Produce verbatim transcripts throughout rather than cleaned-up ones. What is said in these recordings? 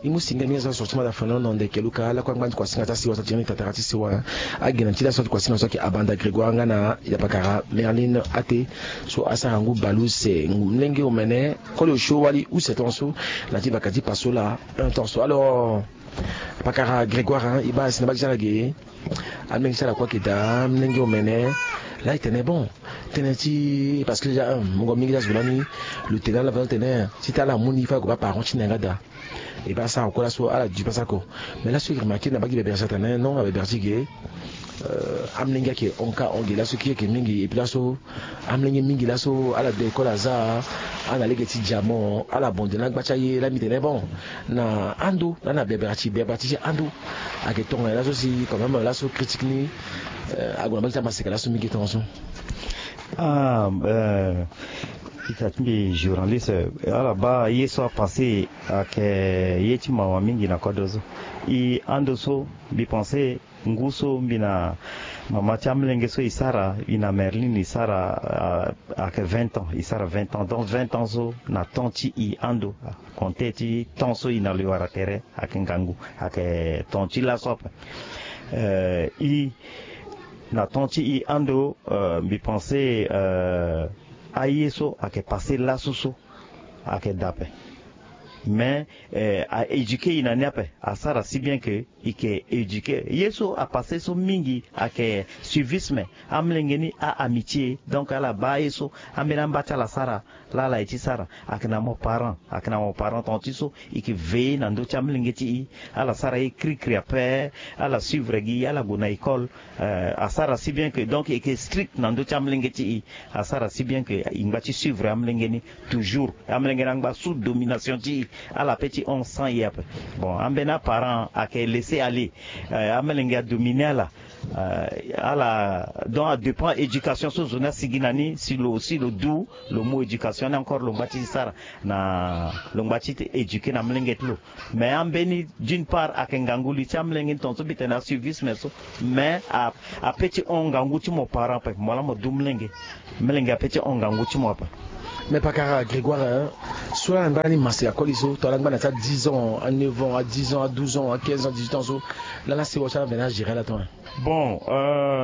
E mu singa mingi so asorti mada fano na ndeke luka lakue angba ni ti kuasinga ti asewa so atiri ni tatara ti sewa. Agi na ti laso ti kuasinga so ayeke abanda Grégoire nga na ya pakara Merline ate. So asara ngu bale use ngu mlenge omene koli osio wali use tongaso. Na ti baka ti paso laa un tongaso alors pakara Grégoire e baa si na baa ti ala ge. Amlenge ti ala kue ayeke daa amlenge omene. Laa e tene bon tënë ti parce que déjà un mungo mingi ti azo lani. Lo tene ala vana tene ti tene ala mu ni fa ague baa parent ti na yanga daa. E baa asara kue laso ala du pasa oko. Mais laso e remarke na baa gi bebere ti atene non abebere ti ge. Amlenge ayeke hon ka hon ge laso kiri ayeke mingi et puis laso amlenge mingi laso ala de école aza. Ana lege ti diamant ala bonde na gba ti aye laa mbi tene bon. Na ando laa na bebere ti bebere ti ti ando. Ayeke tongana laso si quand même laso critique ni ague na baa ti amaseka laso mingi tongaso. Ah, ita ti mbi journaliste ala baa ye so apasse. Ayeke ye ti mawa mingi na kodro so. E ando so mbi pense ngu so mbi na mama ti amlenge so e sara e na Merline e sara ayeke vingt ans e sara vingt ans donc vingt ans so na temps ti e ando. Compte ti temps so e na lo e wara tere ayeke ngangu ayeke temps ti laso ape. E na temps ti e ando mbi pense aye so ayeke passe laso so ayeke daa ape. Mais a éduquer e na ni ape asara si bien que e yeke éduquer ye so apasse so mingi ayeke suivisme. Amlenge ni a amitié donc ala baa ye so ambeni amba ti ala sara. Laa ala ye ti sara ayeke na mo parent ayeke na mo parent tonga ti so e yeke veiller na ndö ti amlenge ti e. Ala sara ye krikri ape. Ala suivre gi ala gue na école. Asara si bien que donc e yeke strict na ndö ti amlenge ti e. Asara si bien que e ngba ti suivre amlenge ni toujours. Amlenge ni angba sous domination ti e. Ala pe ti hon sans e ape. Bon ambeni aparent ayeke laisser aller. Amlenge adomine ala. Ala donc adépend éducation so zo ni asigi na ni si lo aussi lo du lo mu éducation ni encore lo ngba ti sara na lo ngba ti éduquer na mlenge ti lo. Mais ambeni d'une part ayeke ngangu li ti amlenge ni tonga so mbi tene asuivisme so. Mais ape ti hon ngangu ti mo parent ape mo laa mo du mlenge. Mlenge ape ti hon ngangu ti mo ape. Mais pakara Grégoire so ala ngba ni maseka koli so to ala ngba na ti a dix ans a neuf ans a dix ans a douze ans a quinze ans dix-huit ans so laa na sewa ti ala mvene agérer ala ton. Bon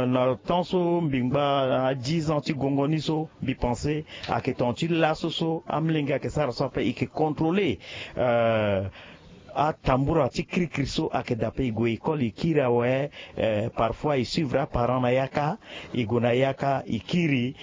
na temps so mbi ngba a dix ans ti gongo ni so mbi pense ayeke tonga ti laso so amlenge ayeke sara so ape e yeke contrôler. Atambura ti krikri so ayeke daa ape e gue école e kiri awe. Parfois e suivre aparent na yaka e gue na yaka e kiri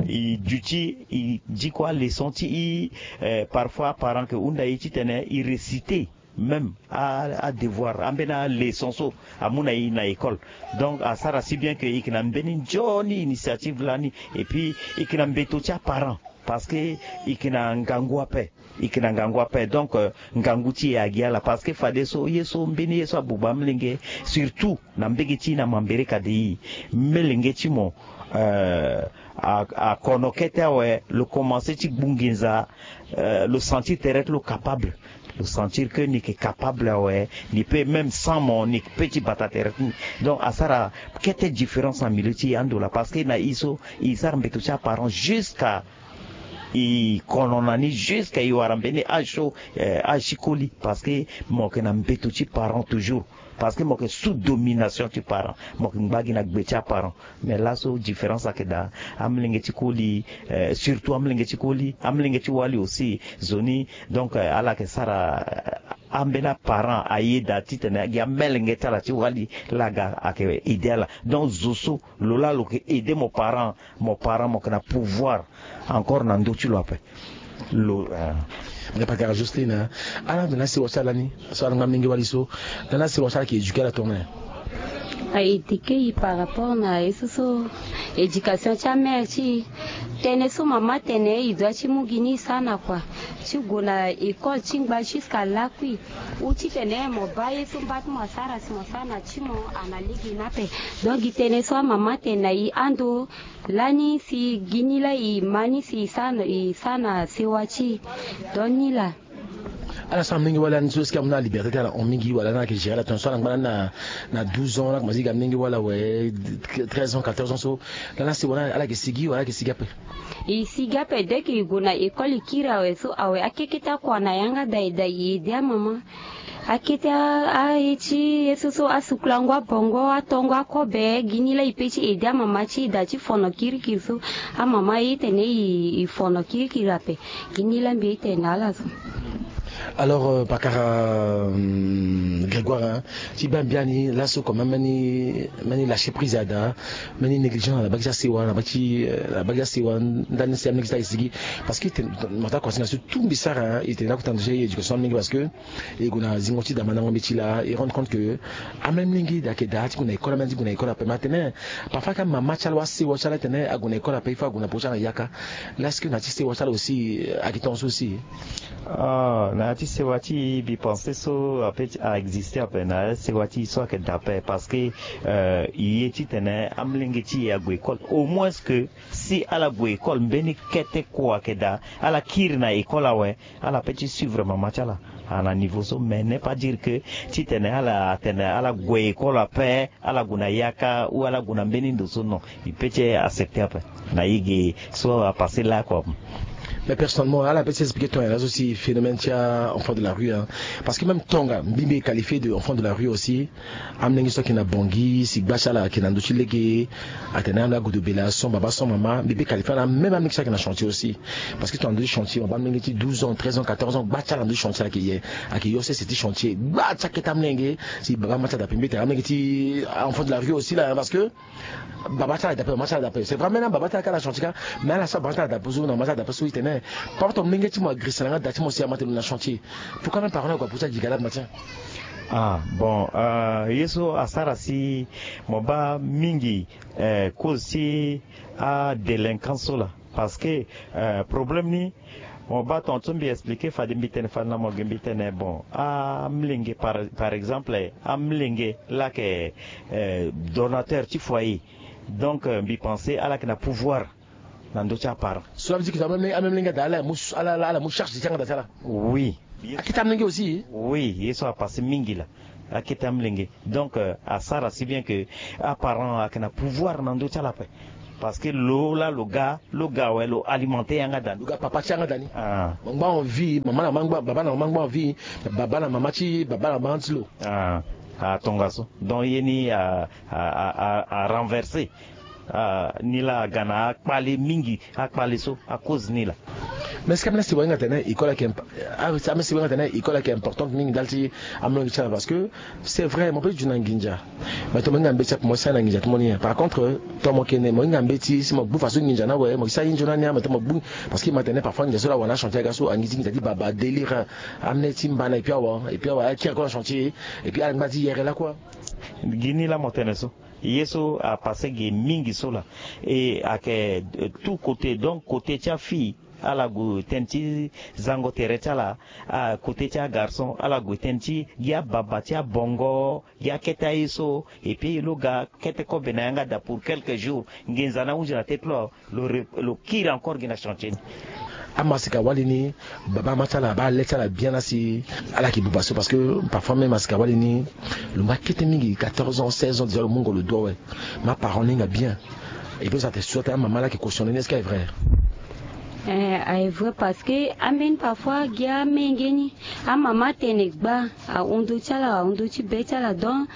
e duti e diko aleçon ti e. Parfois aparent ayeke hunda e titene e réciter même adevoir ambeni aleçon so amu na e na école. Donc asara si bien que e yeke na mbeni nzoni initiative lani et puis e yeke na mbeto ti aparent parce que e yeke na ngangu ape. E yeke na ngangu ape donc ngangu ti e agi ala parce que fadeso ye so mbeni ye so abuba amlenge surtout na mbege ti e na mambere ka de e melenge ti mo. Akono kete awe lo commence ti gbu nginza. Lo sentir tere ti lo capable. Lo sentir que ni yeke capable awe. Ni peut même sans mo ni peut ti bata tere ti ni. Donc asara kete différence na milieu ti e ando laa parce que na e so e sara mbeto ti aparent jusqu'à e kono na ni jusqu'à e wara mbeni âge so âge ti koli parce que mo yeke na mbeto ti parent toujours. Parce que mo yeke sous domination ti parent mo yeke ngba gi na gbe ti aparent. Mais laso différence ayeke daa. Amlenge ti koli surtout amlenge ti koli amlenge ti wali aussi zo ni. Donc ala yeke sara ambeni aparent aye daa titene gi amelenge ti ala ti wali laa aga ayeke aider ala. Donc zo so lo laa lo yeke aider mo parent. Mo parent mo yeke na pouvoir encore na ndö ti lo ape. Lo. Nga pakara Jocelyne ala mbi na sewa ti ala ni so ala ngba mingi wali so. Laa na sewa ti ala yeke éduquer ala tongana. Aéduquer e par rapport na ye so so éducation ti amère ti e. Tënë so mama atene e doit ti mu gi ni e sara na kua ti gue na école ti ngba jusqu'à lakui. Ou titene mo baa ye so mba ti mo asara si mo sara na ti mo ana lege ni ape. Donc gi tënë so amama atene na e ando. Lani si gi ni laa e ma ni si e sara na sewa ti e. Donc ni laa. Ala so amolenge wala ni so, est-ce que amu na liberté ti ala hon mingi, wala na ala yeke gérer ala tongana so ala ngba na, na douze ans, ala komanse gi amolenge wala awe, treize ans, quatorze ans so, lani asewa ni ala yeke sigi wala ala yeke sigi ape? E sigi ape, dès que e gue na école e kiri awe so, awe akeke ti akua na yanga daa e daa e aidé amama. Akete a, aye ti ye so so asukulango abongo, atongo akobe, gi ni laa e pe ti aidé amama ti e daa ti fono kirikiri so. Amama aye titene e, e fono kirikiri ape. Gi ni laa mbi ye titene na ala so. Alors, euh, pakara, euh, Grégoire, hein, ti baa mbi biani laso, quand même, mbeni, mbeni lâcher prise adaa, mbeni négligence na baa ti asewa, na baa ti, euh, na baa ti asewa, ndani si amolenge ti ala e sigi. Parce que tene, mo ta considérer so tout mbi sara, hein, e tene lakue tene éducation amolenge, parce que e gue na zingo ti daa mandango mbeti laa, e rendre compte que amolenge ayeke daa ti gue na école, amolenge ti gue na école ape. Mais atene parfois ka mama ti ala, asewa ti ala, atene ague na école ape, il faut ague na peko ti ala na yaka. Là, est-ce que na ya ti sewa ti ala aussi, euh, ayeke tongaso aussi? Ah, na ya ti sewa ti e, mbi pense so ape ti a existe ape, na ya ti sewa ti e so ayeke daa ape, parce que, euh, e ye titene amolenge ti e ague école, au moins que si ala gue école, mbeni kete kua ayeke daa, ala kiri na école awe, ala pe ti suivre mama ti ala, ah, na niveau so. Mais n'est pas dire que titene ala atene ala gue école ape, ala gue na yaka ou ala gue na mbeni ndo so, non. E pe ti accepter ape na ye ge so apasé laa kua. Mais personnellement, ala pe ti expliquer tongana nyen laso si phénomène ti a enfant de la rue, hein. Parce que même tonga mbi, mbi qualifié de enfant de la rue aussi. Amolenge so ayeke na Bangui, si gba ti ala ayeke na ndö ti lege, atene ala gue daa bela sans baba sans mama, mbi pe qualifié ala, même amolenge so ayeke na chantier aussi. Parce que tongana ndö ti chantier, mo baa amolenge ti douze ans, treize ans, quatorze ans, gba ti ala na ndö ti chantier ayeke ye, ayeke yo sese ti chantier. Gba ti akete amolenge, si baba ama ti ala daa ape, mbi tene amolenge ti enfant de la rue aussi là, hein, parce que baba ti ala daa ape, mama ti ala daa ape. C'est vrai, même baba ti ala ka na chantier ka, mais ala so baba ti ala daa ape so, na mama ti ala daa ape so, e tene papa, to molenge ti mo agressé na nga daa ti mo si ama tene lo na chantier. Pourquoi même parent ni ague apusu agi ga laa matin? Ah, bon, euh, ye so asara si mo baa mingi, euh, cause ti adélinquance so laa. Parce que, euh, problème ni, mo baa tongaso mbi expliquer fade, mbi tene fade na mo ge, mbi tene, bon, amolenge, par, par exemple, amolenge laa ayeke, euh, donateur ti foyer. Donc, euh, mbi pensé ala yeke na pouvoir na ndö ti aparent. So la veut dire que amolenge, amolenge daa ala mu, ala, ala, ala mu charge ti yanga daa ti ala. Oui. Akete amolenge aussi. Oui, ye so apasé mingi laa. Akete amolenge. Donc, euh, asara si bien que aparent ayeke na pouvoir na ndö ti ala ape. Parce que lo laa lo ga, lo ga awe, lo alimenté yanga daa ni. Lo ga papa ti yanga daa ni. Ah. Mo ngba en vie, mama na mama ngba, baba na mama ngba en vie, baba na mama ti, baba na mama ti lo. Ah, atongaso. Donc ye ni a, a, a, a, a renversé. Ah, ni laa aga na akpale mingi, akpale so, acause ni laa. Mais est-ce que amolenge si wahinga tene école ayeke imp-, ah, amolenge si wahinga tene école ayeke importante mingi ndali ti amolenge ti ala, parce que c'est vrai, mo peut ti duti na nginza. Mais to mo hinga mbeti ape, mo sara na nginza ti mo ni. Par contre, to mo yeke ne, mo hinga mbeti, si mo gbu faso nginza ni awe, mo yeke sara ye nzoni ni, mais to mo gbu, parce que mo tene parfois nginza so laa awa na chantier aga so, angi ti nginza ti baba, délire, amolenge ti mbana, et puis awa, et puis awa, akiri kue na chantier, et puis ala ngba ti yere lakue. Gi ni laa mo tene so. Ye so apasé ge mingi so laa. E ayeke, euh, tout côté. Donc côté ti afille, ala gue tene ti zango tere ti ala, ah, côté ti agarçon, ala gue tene ti gi ababa ti abongo, gi akete aye so. Et puis lo ga kete kobe na yanga daa pour quelques jours, nginza ni ahunzi na tete ti lo, lo re-, lo kiri encore gi na chantier ni. Amasika wali ni, baba ama ti ala abaa le ti ala bien laa si ala yeke buba so, parce que parfois même amasika wali ni, lo ngba kete mingi, quatorze ans, seize ans déjà, lo mungo lo doigt, ouais. Mais aparent ni hinga bien. Et puis ça te souhaite amama laa ayeke cautionné ni, est-ce que ayeke vrai? Eh, ayeke vrai, parce que ambeni parfois gi amenge ni, amama atene gba ahon ndö ti ala, ahon ndö ti be ti ala. Donc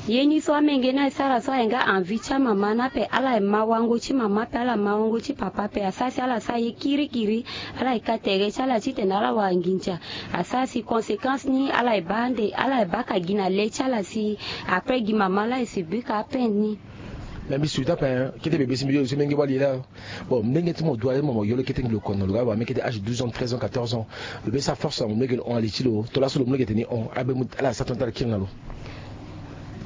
ye ni so amenge ni asara so, aye nga envie ti amama ni ape, ala ma wango ti mama ape, ala ma wango ti papa ape. Asara si ala sara ye kirikiri, ala ye ka tere ti ala titene ala wara nginza. Asara si conséquence ni ala ye baa ande, ala ye baa ka gi na le ti ala si après gi mama laa e subir ka apeine ni. Mais mbi souhaite ape, hein, kete bebe si mbi yo so menge wali laa. Bon, molenge ti mo dua mo, mo yo lo kete ngi lo kono, lo ga wara mbeni kete âge douze ans, treize ans, quatorze ans. Lo be sa force na mo, molenge lo hon ali ti lo. To laso lo molenge tene hon, abe mu ala sa tongana ti ala kiri na lo.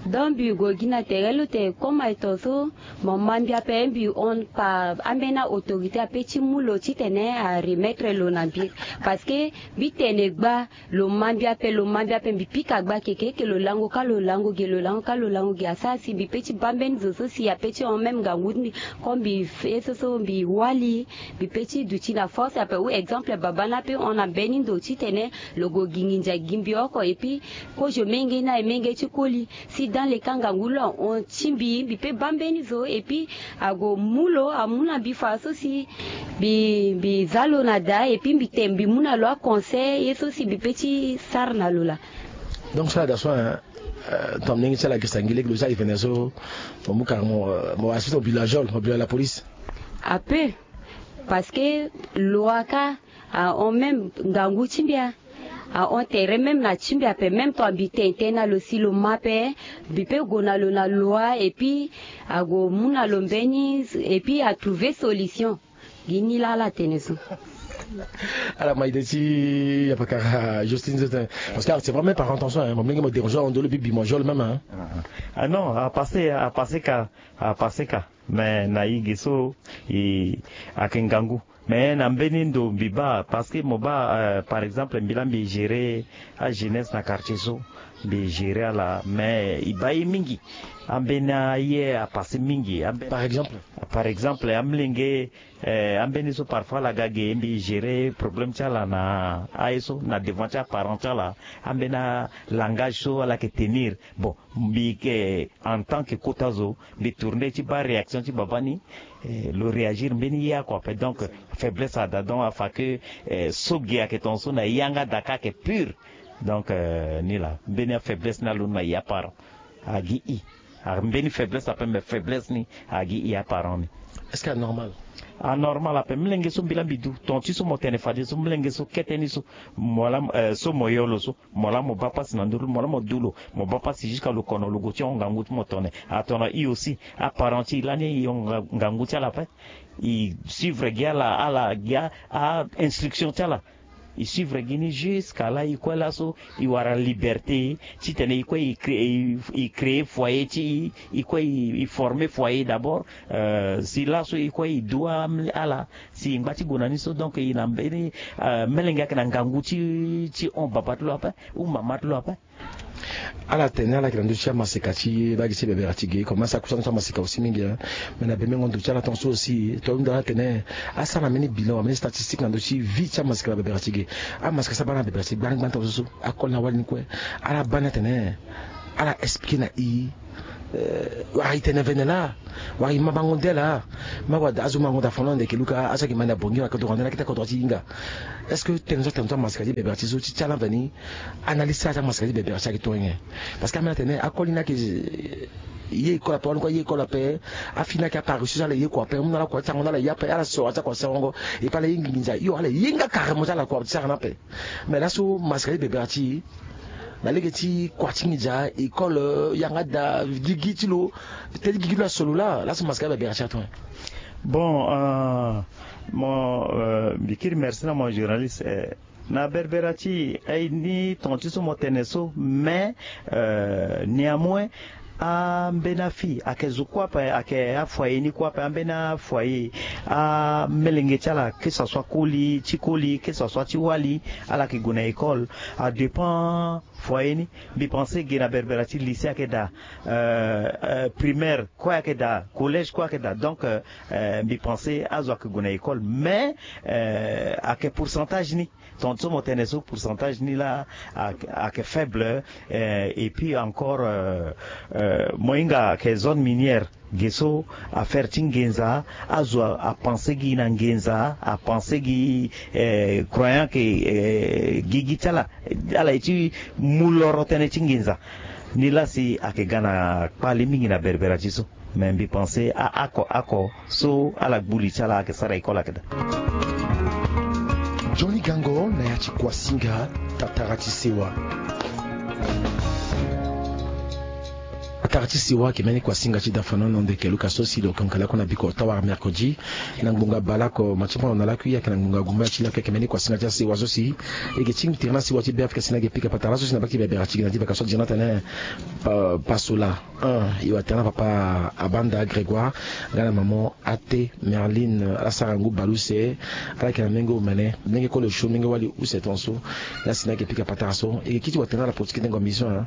Donc mbi gue gi na tere lo te, comme aye tongaso mo ma mbi ape, mbi hon par ambeni autorité ape ti mu lo titene a remettre lo na mbi. Parce que mbi tene gba, lo ma mbi ape, lo ma mbi ape, mbi pika gba keke ke lo lango ka lo lango ge, lo lango ka lo lango ge. Asara si mbi pe ti baa mbeni zo so si ape ti hon même ngangu ti mbi. Comme mbi ye so so mbi wali, mbi pe ti duti na force ape. Ou exemple baba ni ape hon na mbeni ndo titene lo gue gi nginza gi mbi oko. Et puis kozo menge ni aye menge ti koli. Si dans le cas ngangu lo ahon ti mbi, mbi pe baa mbeni zo. Et puis ague mu lo, amu na mbi fa so si mbi mbi za lo na daa. Et puis mbi te mbi mu na lo aconseil ye so si mbi pe ti sara na lo laa. Donc so ala daa so, hein, euh, ton ndenge ti ala gesa ngi lege lo ti ala e vene so, mo mu kara mo, euh, mo assiste au bila jol, au bila la police. Ape. Parce que lo aka ahon même ngangu ti mbi a, ahon tere même na ti mbi ape. Même ton mbi tene tene na lo si lo ma ape, mbi pe gue na lo na loi. Et puis ague mu na lo mbeni, et puis atrouver solution. Gi ni laa ala tene so. Ala ma ide ti yapakara Justine so te. Parce que c'est vraiment par intention, hein. Mo mlenge mo déranger ahon ndolo bi bi mo jol même, hein. Ah non, a passé, a passé ka, a passé ka. Mais na i ge so i ayeke ngangu. Mais na mbeni ndo mbi baa, parce que mo baa, euh, par exemple mbi laa mbi gérer ajeunesse na quartier so, mbi gérer ala, mais i baa ye mingi. Ambeni aye a passé mingi. Ambe- Par exemple? Par exemple amlenge, eh, ambeni so parfois ala ga ge, mbi gérer problème ti ala na aye so na devant ti aparent ti ala. Ambeni alangage so ala yeke tenir. Bon, mbi yeke en tant que kota zo, mbi tourner ti baa réaction ti baba ni. Eh, lo réagir mbeni ye oko ape. Donc faiblesse ada, donc afa ke, eh, so ge ayeke tongaso na yanga daa ka ayeke pur. Donc, euh, ni laa mbeni afaiblesse ni alondo na ya parent. Agi i. A mbeni faiblesse ape, mais faiblesse ni agi i aparent ni. Est-ce que anormal? Anormal ape. Mlenge so mbi laa mbi du, ton ti so mo tene fade so, mlenge so kete ni so, mo laa, euh, so mo yo lo so, mo laa mo baa pasi na nduru, mo laa mo du lo, mo baa pasi jusqu'à lo kono lo gue ti hon ngangu ti mo tone. Atona i aussi, aparent ti i lani i hon nga- ngangu ti ala ape. I suivre gi ala, ala gi a, a instruction ti ala. I suivre gi ni jusqu'à là i kue laso i wara liberté titene i kue i créer, i créer foyer ti i, i kue i, i former foyer d'abord. Euh, si laso i kue i du a- ala si i ngba ti gue na ni so. Donc i na mbeni, euh, melenge ayeke na ngangu ti, ti hon baba ti lo ape ou mama ti lo ape. Ala tene ala yeke na ndö ti amaseka ti baa gi ti bebera ti ge, comme asara kusa na ndö ti amaseka aussi mingi, hein. Mais na bemengo ndo ti ala tongaso aussi, to hunda ala tene asara na mbeni bilan, mbeni statistique na ndö ti vie ti amaseka na bebera ti ge. Amaseka so abaa na bebera ti gbangbang tongaso so, akoli na wali ni kue. Ala baa ni atene ala expliquer na i, euh, wala i tene vene laa, wala i ma bango nde laa. Ma wala azo ma ngonda fono ande ke luka azo ayeke ma na bongi wala kodro ande na kete kodro ti hinga. Est-ce que tene so atene so amaseka ti bebera ti so ti ti ala veni? Analyse ti ala ti amaseka ti bebera ti ayeke tongenge? Parce que ambeni atene akoli ni ayeke ye école ape, wani kue aye école ape. Afi ni ayeke apareusseuse, ala ye kua ape. Amu na ala kua ti sango ni ala ye ape, ala soro ti akua ti sango. Et puis ala ye nginza hio, ala ye nga carrément ti ala kua ti sara ni ape. Mais laso maseka ti bebera ti e na lege ti kua ti nginza, école, yanga daa, gigi ti lo, teti gigi ti lo aso lo laa, laso maseka ti bebera ti atongenge? Bon, euh, mo, euh, mbi kiri merci na mo journaliste, euh, na berbera ti e, eh, ni ton ti so mo tene so, mais, euh, néanmoins, ambeni afi ayeke zo kue ape, ayeke afoyer ni kue ape, ambeni afoyer, amelenge ti ala, que ça soit koli ti koli, que ça soit ti wali, ala yeke gue na école, a dépend foyer ni. Mbi pense ge na berbera ti lycée ayeke daa, euh, euh, primaire kue ayeke daa, collège kue ayeke daa. Donc, euh, euh, mbi pense azo ayeke gue na école, mais, euh, ayeke pourcentage ni. Ton so mo tene so pourcentage ni laa ayeke, ayeke faible, euh, et puis encore, euh, euh, mo hinga ayeke zone minière. Ge so affaire ti nginza, azo apenser gi na nginza, apenser gi, eh, croyant ke, eh, gigi ti ala, ala ye ti mu loro tënë ti nginza. Ni laa si ayeke ga na kpale mingi na berbera ti so. Mais mbi pense a, ako, ako so ala gbu li ti ala ayeke sara école ayeke daa. Johnny Gango na ya ti Kuasinga, tatara ti sewa. Ara ti siwa ayeke mbeni kuasinga ti dafana na ndo yeke luka so si lo yeke hongele lakue na biko ota wala mercredi na ngbonga baleoko ma ti mono na lakui ayeke na ngbonga gumba ti lakui ayeke mbeni kuasinga ti asiwa so si e yeke ti tene na siwa ti beafrika si na yeke pika patara so si na baki bebera ti gi na ti baka so adiri na tene pasola. E watene na papa abanda grégoire nga na mama ate merline ala sara ngu baleuse. Ala yeke na menge omene menge kolo sio menge wali use tongaso. Nga si na yeke pika patara so e yeke kiti watene na la politique dengo mission.